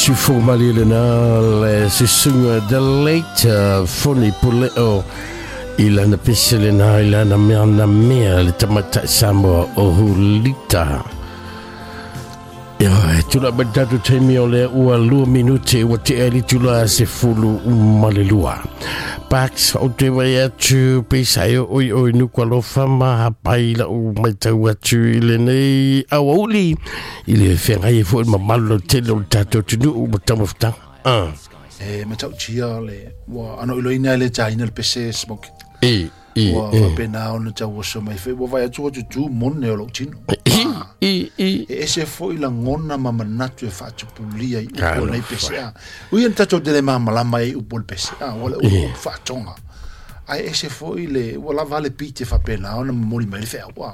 Siufogo malie lena le susuga the late Foni Puleo i lana pese lena i lana mea na mea le tamaitai Samoa o Hulita. Ia, e tula mai tatou taimi o lea ua 2 minute ua tea i le itula 12. Pax, o te vai atu pe sa e oi oi nuku alofa ma hapai lau maitau atu i lenei auauli i le feagai ai foi le mamalu lautele o le tatou atunuu ma taumafataga. Ah. E matautia le ua ano iloina e le taina le pese smoke. E, e, Ua e. faapena ona tauoso mai foi ua vaai atu ua tutū mone o lou tino. E, e, e. E ese foi lagona ma manatu e faatupulia i upu o lenei Talofa. pese a. Ui ana tatou te le malamalama ai i upu o le pese a, ua le upu upu faatoga. Ae ese foi le ua lava le pite faapena ona momoli mai le feau a.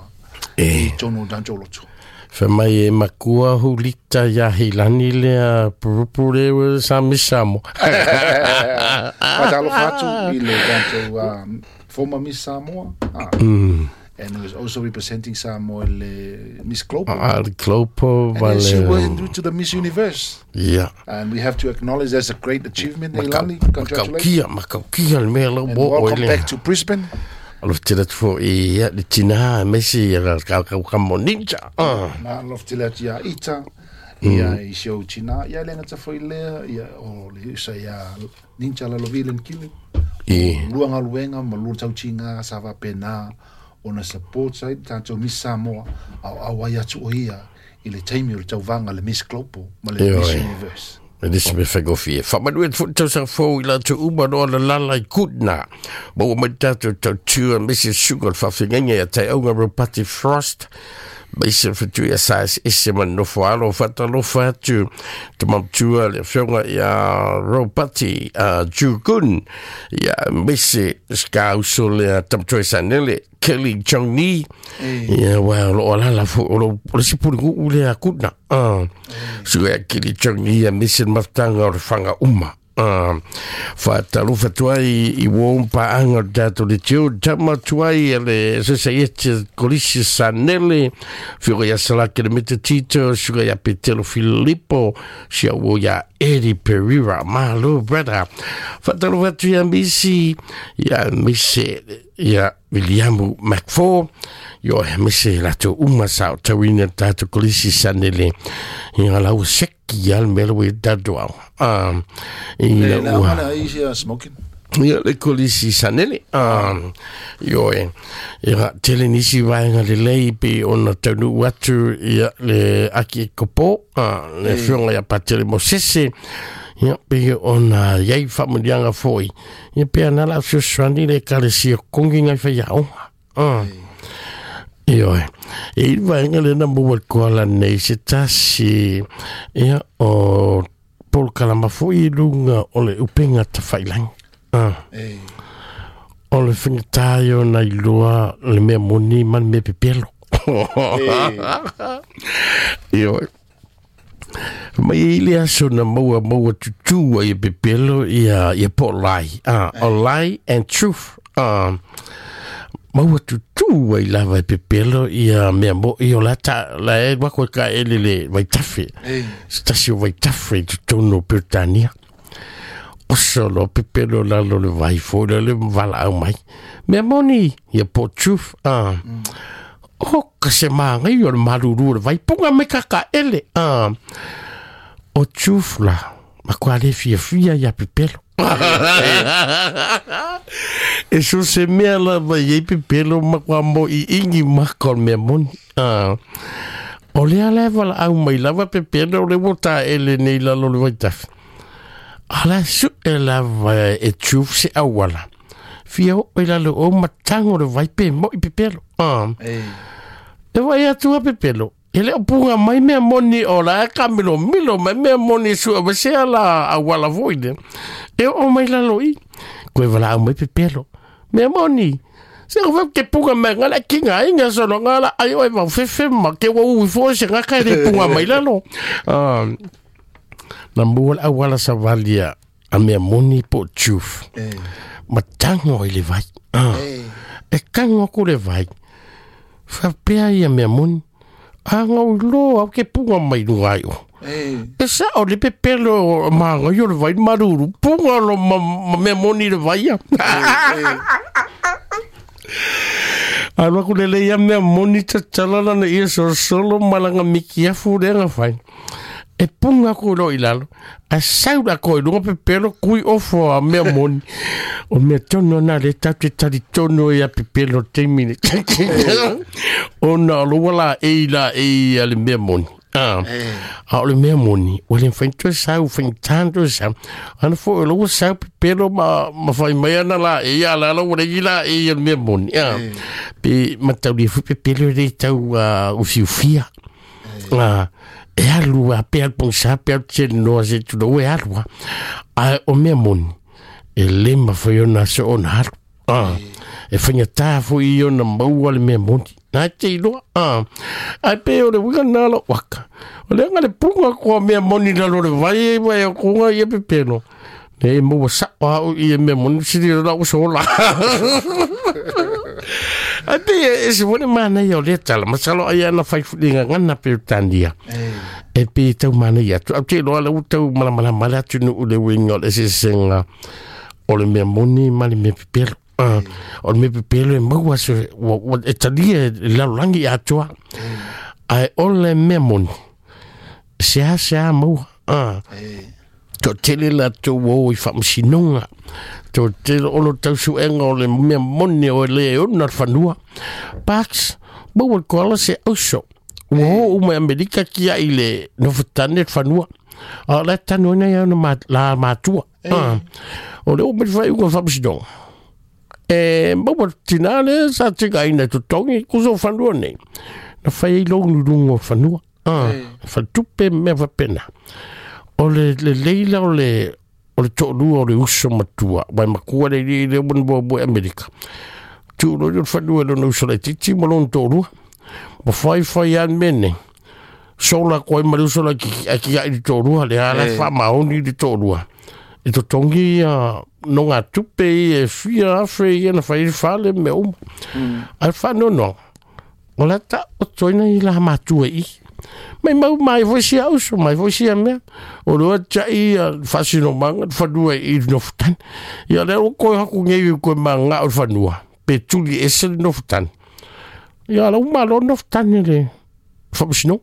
E. I totonu o tatou loto. Fai mai e makua hulita ia heilani lea purupu le ua sa Miss Samoa. Faatalofa atu i le tatou former Miss Samoa. Ah. And who is also representing Samoa i le Miss Global. Ah, le Global And then she ma le went to the Miss Universe. Ia. And we have to acknowledge that's a great achievement, Leilani. Congratulations. Makaukia, makaukia le mea lau And mo oe welcome lea. back to Brisbane. Alofa tele atu foi ia le tina aemaise ia la kaukau kamo ninja. Ah. Na alofa tele atu ia Ita, ia i si ou tina, ia le gata foi lea, ia o le usa ia Ninja Lalovi le Kili. E. Lua galuega ma lua tautiga sa faapena ona support ai le tatou Miss Samoa aoao ai atu o ia i le taimi o le tauvaga le Miss Global ma le Ioe. Miss Universe. E le se mea faigofie. Faamanuia atu foi le tausaga fou i latou uma no ona lala i kutna. Ma ua mai tatou tautua aemaise susuga o le faafeagaiga ia Taiauga Ropati Frost. Maise le fetu ia sa ese ma nofo alo faatalofa atu te mamatua le afioga ia Ropati Jugun ia aemaise skauso lea tamatoe Sanele Kelly Chong Ni ia ua o loo alala foi o lo o le isi puliguu lea kutna. Ah. Suka ia Kelly Chong Ni aemaise le mafutaga o le faga uma. Ah, faatalofa atu ai i uō paaga o le tatou leitio tama atu ai e le sosaiete kolisi Sanele fioga ia Salake le Metatito suka ia Petelo Filipo sia uō ia Eddie Pereira malo brother faatalofa atu ia misi ia mise ia Williamu McFall io aemaise latou uma sa otauina le tatou kolisi Sanele ia lau seki a le mea ua i tatou ao. Ah, i E la le ua amana ai sia smoking. Ia le kolisi Sanele. Ah, ioe. Ia tele nisi vaega lelei pe ona taunuu atu ia le aki e kopo, ah, le afioga ia Patele Mosese. Ia pe ona iai faamuliaga foi. Ia pe ana la fesoasoani le ekalesia kogi ngai faiaoga. Ah. Ioe. E i le vaega lena maua le koala nei se tasi ia o polokalama foi i luga o le upega tafailagi. Ah. E. O le fagatā ia ona iloa le mea moni ma le mea pepelo. Ioe. Mai i le aso na maua maua tutū ai e pepelo ia ia po lie. Ah, o lie and truth. Ah, maua tutū ai lava e pepelo ia mea mo i o la ta la e wako e ka ele le vaitafe. E. Se tasi o vaitafe i totonu o Peretania. Oso lo pepelo lalo le vai foi le le valaau mai. Mea moni ia po truth. Ah. O ka se magai o le malulu o le vai punga mai kaka ele. Ah. O truth la. Ma kua le fiafia ia pepelo. E so se mea lava i ai pepelo ma kua mo i ingi maka o le mea moni. Ah. O lea la e valaau mai lava pepelo o le ua taele nei lalo o le vaitafe. Ala su e lava e truth se auala. Fia o i lalo o matago le vai pe mo i pepelo. Ah. E. E vai atu a pepelo. E le o punga mai mea moni o la e ka milo milo mai mea moni sua ma se ala auala foi le. E o mai lalo i. Koe valaau mai pepelo. Mea moni. Se o ke punga mai ngala kinga inga solo ngala ai oi vau fefe ma ke ua ui fo se ngaka e le punga mai lalo. Ah, na mua le auala savalia a mea moni po truth. E. Matago ai le vai. Ah. E. E kago aku le vai. Faapea ia mea moni. A ngau lo au ke punga mai lunga ai o. E sa o le pepelo o maga i o le vai maruru. Punga lo ma, ma mea moni le vai a. Alu aku le lei a mea moni tatala lana ia solosolo malanga miki afu le anga fai. E punga aku lo i lalo. A sau la ko i lunga pepelo kui ofo a mea moni. O mea tonu ana le tau te tari tonu i a pepelo teimi ne. Ona o lo wala e i la e i a le mea moni. Ah, a o le mea moni, ua le mafai ona toe sau, faigata ona toe sau. Ana foi o la ua sau pepelo ma, ma fai mai ana la e ia la la ua leai la e ia le mea moni. Ah, pe mataulia foi pepelo e le tau uh, ufiufia. Ah, e alu a pe alu pogisa pe alu telenoa se tulou e alu a. Ae o mea moni, e le mafai ona soona alu. Ah, e faigata foi i ona maua le mea moni. Nā te iloa. Ah, ai pe o le uiga nā lo waka. O le anga le punga koa mea moni lalo le vai e vai o kunga ia pepelo. Le e maua sao au i e mea moni siri o lau sola. Ai pe e se wone mana ia o le tala. Masalo ai ana whai fulinga ngana pe tania. E pe tau mana ia atu. Au te iloa le utau malamalama le atu nu le uiga o le eseesega o le mea moni ma le mea pepelo. Uh, o le mea pepelo e maua se, ua, ua, e talia e lalolagi atoa. Ae o le mea moni, se a se a maua. Toatele latou ua o i faamasinoga, toatele o lo tau suega o le mea moni o le e ona le fanua. Parks, maua le koala se auso. Ua o uma i Amerika kia i le nofotane le fanua. A o la e tanu ai ona ma, la matua. Ah. O le o mai whai unga whamasinoga. E maua tina le sa tika ina totongi kuso fanua nei. Na whai ai longu runga o fanua. Ah, whatupe mea whapena. O le, le leila o le o le to'olua o le uso matua, wai makua le i le wan bo bo Amerika. Tu'ulo i le fanua lona uso laitiiti ma lona to'olua. Ma whai whai an mene. Sola koe ma le uso la ki a ki ai le to'olua, le ala e whaamaoni le to'olua. E totongi ia no ngā tupe i e fia afe i ana whai whale me uma. Ai whanono, o la ta o toina i la matua i. Mai mau mai foi sia uso, mai foi sia mea. O lua tai a whasino manga, whanua i nofutani. Ia lea o koe haku ngei i koe manga o whanua. Pe tuli ese le nofutani. Ia la uma lo nofutani le whamasino.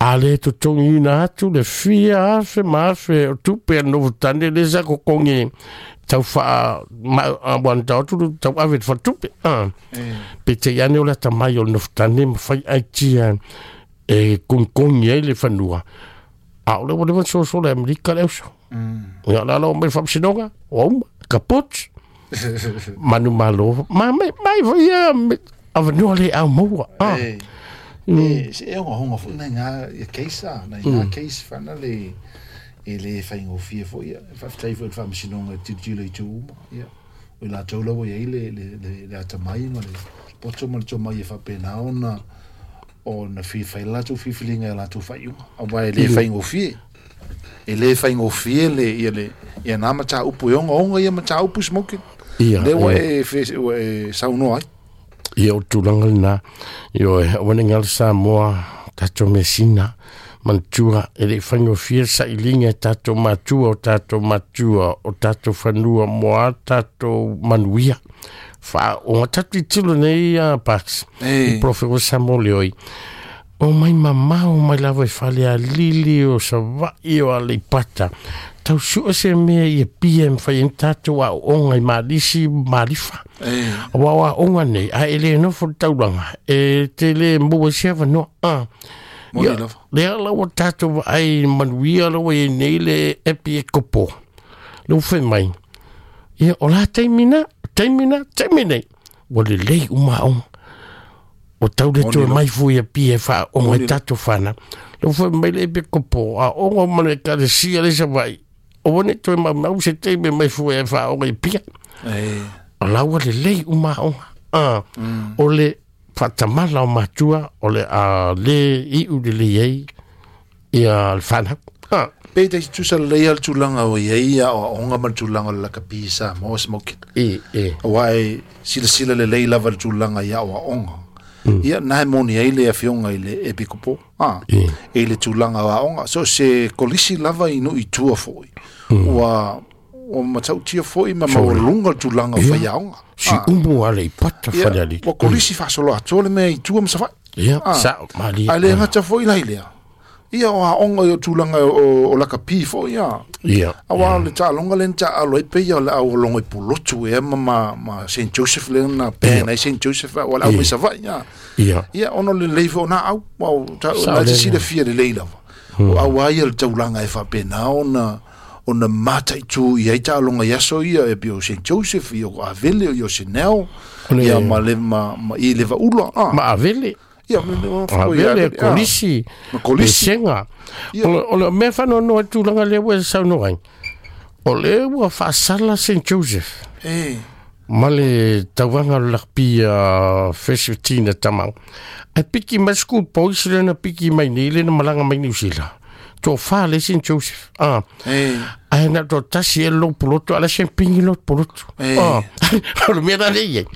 A le totongi ina atu le fia afe ma afe o tupe a nofutani le sa kokongi tau wha ma a wan tau atu tau ave te whatupe. Ah. Pe te iane o le ata mai o le nofutani ma whai ai tia e kongikongi ai le whanua. A o le wa lewa soso le Amerika le uso. Ia la lo mai whamsinoga, o uma, kaput. Manu malo, ma mai mai foi ia me awanua le au maua. Ah. E, se e honga honga foi nai ngā ia case a, nai ngā case whana le e le whaingofie foi ia. E whawhitai foi le whamasinoga e tilotilo i tū uma, ia. O i latou laua i ai le, le, le, le atamai ma le poto ma le tomai e faapena ona ona fai le latou filifiliga i a latou faaiuga. Aua e le faigofie. E le faigofie le, ia le, ia nā mataupu e ogaoga ia mataupu smoking. Ia, Lea ua e, ua e saunoa ai. Ia o tulaga lena, ioe, aua ne i galo Samoa, tatou measina, manatua, e le i faigofie le sailiga e tatou matua, o tatou matua, o tatou fanua mo a tatou manuia. Faaoga tatou tilotilo nei a Parks, i Prophet o Samoa Leoi, o mai mamao mai lava i Falealili, o Savaii, o Aleipata, tau sue se mea i Apia e mafai ai ona tatou aooga i Malisi ma Malifa. Aua o aoga nei, a e le nofo i le taulaga, e te le maua ai se avanoa. Ah. Moni Ia, lava. lea la ua tatou vaai i manuia la ua i ai nei le epi e kopo. Le ua fai mai, ia o la taimi na, taimi na, taimi nei. Ua lelei uma aoga. Ua tau le Moni toe lava. mai fua i Apia e faaoga Moni i lava. tatou fanau. Le ua fai mai le epi kopo, aoga uma le ekalesia le Savaii. Aua ne i toe maumau se taimi e mai fua e faaoga i Apia. O la ua lelei uma aoga. Ah, O le faatamala o matua o le a le iu lelei ai ia le fanau. Ah. Pe te tusa lelei a le tulaga o i ai aoaoga ma le tulaga o le lakapi i Samoa smoking. E, e. Aua e silasila lelei lava le tulaga i aoaoga. Ia na e moni ai le afioga i le Epikopo a e le tulaga o aoga so se kolisi lava i nuu i tua foʻi ua ua matautia foʻi ma maualuga le tulaga o faiaoga. Si umu ale i pata fale ali. Ua kolisi faasolo atoa le mea i tua ma Savaii. Ia, sa mali. Ae le gata foʻi la i lea. Ia o aoga i o tulaga o lakapi foʻi a. Ia. Auā o le taaloga lea na taaalo ai pei o le au logo i Pulotu ea ma St Joseph lea na ban ai St Joseph ua le au mai Savaii a. Ia. Ia ona o le lelei foi o na au. Ua o na te silafia lelei lava. O au a ia le taulaga e faapena ona ona mataitu i ai taaloga i aso ia e pei o St Joseph i o Avele i o Sinel ia ma le ma i le Vaula a. Ma Avele. Ia Avele Kolisi. Ma Kolisi. Pesega. O le mea faanoanoa i tulaga lea ua e saunoa ai. O lea ua faasala St Joseph. E. Ma le tauvaga o le lakapi a Fesfetina Tamau. Ae piki mai school boys lea na piki mai nei lea na malaga mai Niu Sila. Toafa le St Joseph. Ah. E. Ae na o tasi e lou polotu, ala se pingi lou polotu. E. Ah. O le mea la lea i ai.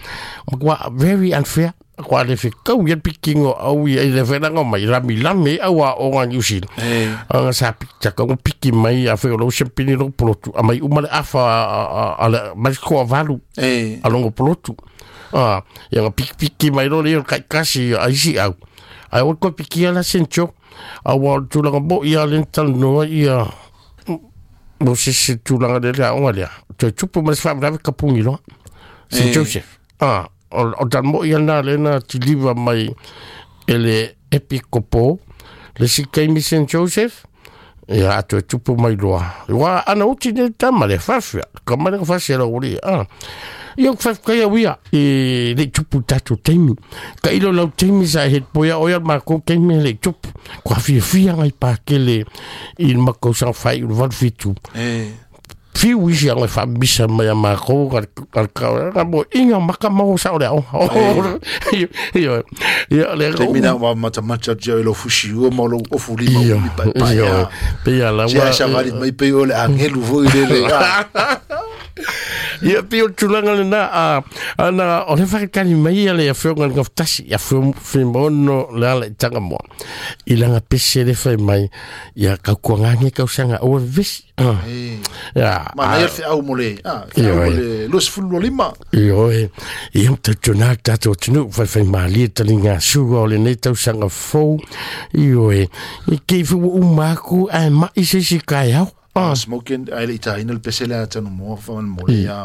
Matua very unfair. Kua le fekau ia pikingo au ia i le whenanga mai lami lami au a o ngā New Zealand. E. Anga sa piki taka ngo piki mai a wheo lau sempini lo polotu. A mai uma le afa a le mai koa valu. E. A longo polotu. A, ia nga piki piki mai lo leo kai kasi a isi au. Ai o koe piki ala sencho. A wa o tulaga mo ia le talanoa ia mo se se tulaga le lea onga lea. Toe tupu mai se whaamrawe kapungi loa. St. Joseph. A, o talmo ia na le na tiliva mai e le epikopo le si kaimi St. Joseph. Ia atu e tupu mai loa. Ua ana uti ne tama le whawhia. Ka mai le whawhia la uri. Ah. Ia ku whawhia ia uia e le tupu tātou teimi. Ka ilo lau teimi sa he poia oia ma ko teimi le tupu. Kua whiawhia ngai pākele i makau sang whai uru walu fitu. E. Fiu isi anga whamisa mai a mākou ka mo inga maka mau sa o le ao. Ia, ia, le Te mina wa matamata tia i lo fusi ua ma lo ofu lima umi pai pai. Ia, pe ia la Tia sa vali mai pe o le angelu foi le le. Ia pe o tulaga lena a ana o le whakatali mai ia le afioga le ngafutasi ia whimono le ala i tanga moa. I langa pese le whai mai ia kaukuangange kausanga o vesi. Ia. Ma na ia au mo le. Ah, au mo le 25. Ioe. Ia mtatuna tātou tunu whai whai malie tali ngā suga o le nei tausanga fou. Ioe. I kei whiu umaku ai mai se si kai au. Smoking ai le itaina le pese le atanu mo fa mo le ia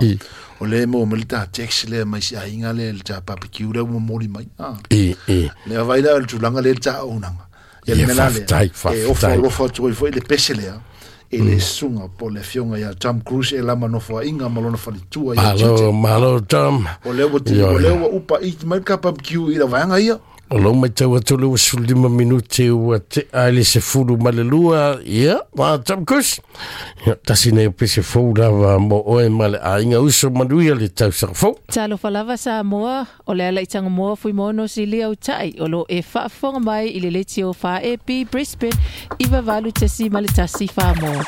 o le mo mo le ta taxi le mai si ainga le ta barbecue le mo moli mai e e le vai la tulanga le ta onanga ia le mela le e o fa lo fa tu foi le pese le e le sunga po le fionga ia Tom Cruise e lama no fa inga ma lona fa tua ia malo malo Tom o le o le upa i mai ka barbecue i la vanga ia. O lau mai tau atu le 15 minute ua te ai le se fulu ma le lua, ia, ma Tom Cruise. Ia, tasi nei o pese fou lava mo oe ma le ainga uso manuia le tausaga fou. Talofa lava Samoa, o le ala i Tangamoa Fuimono Silia Utai, o lo e faafofoga mai i le letio 4AB Brisbane, 98.1 Samoa.